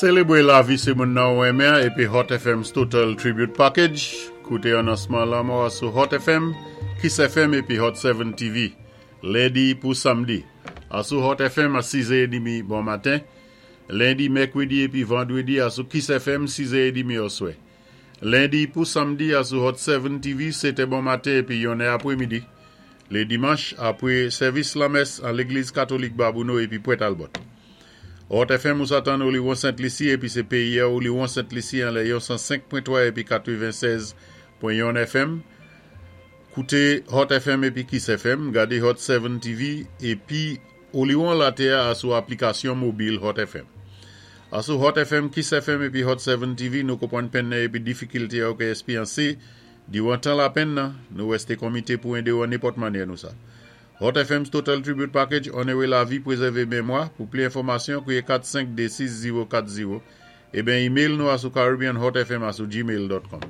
Sélébwé lavi sé moun nan ou renmen épi Hot FM's Total Tribute Package. Kouté anonsman lanmò sou Hot FM, Kiss FM épi Hot 7 TV. Lendi pou samdi. Asou Hot FM a 6h30 bon maten. Lendi, mèkwédi épi vandwédi asou Kiss FM 6h30 oswè. Lendi pou samdi asou Hot 7 TV 7 bon maten épi 1 apwémidi. Lé dimanch apwé sèvis lamès an Légliz Katolik Babouno épi Pwent Talbot. Hot FM ou sa tann Oliwon Sent Lisi épi sé péyi a Oliwon Sent Lisi anlè yon 105.3 épi 96.1 FM. Kouté Hot FM épi Kiss FM, gadé Hot 7 TV épi Oliwon Latè asou aplikasyon mobil Hot FM. Asou Hot FM, Kiss FM épi Hot 7 TV nou konpwann penn nan épi difikilte ou ké èspéryansé diwan tan lapenn nan, nou wèsté konmité pou édé ou an nenpòt mannyè nou sa. Hot FM's Total Tribute Package, onoré lavi, pwézèvé mémwa. Pou pli enfòmasyon, kwiyé 4526040 eben email nou asou caribbeanhotfm@gmail.com.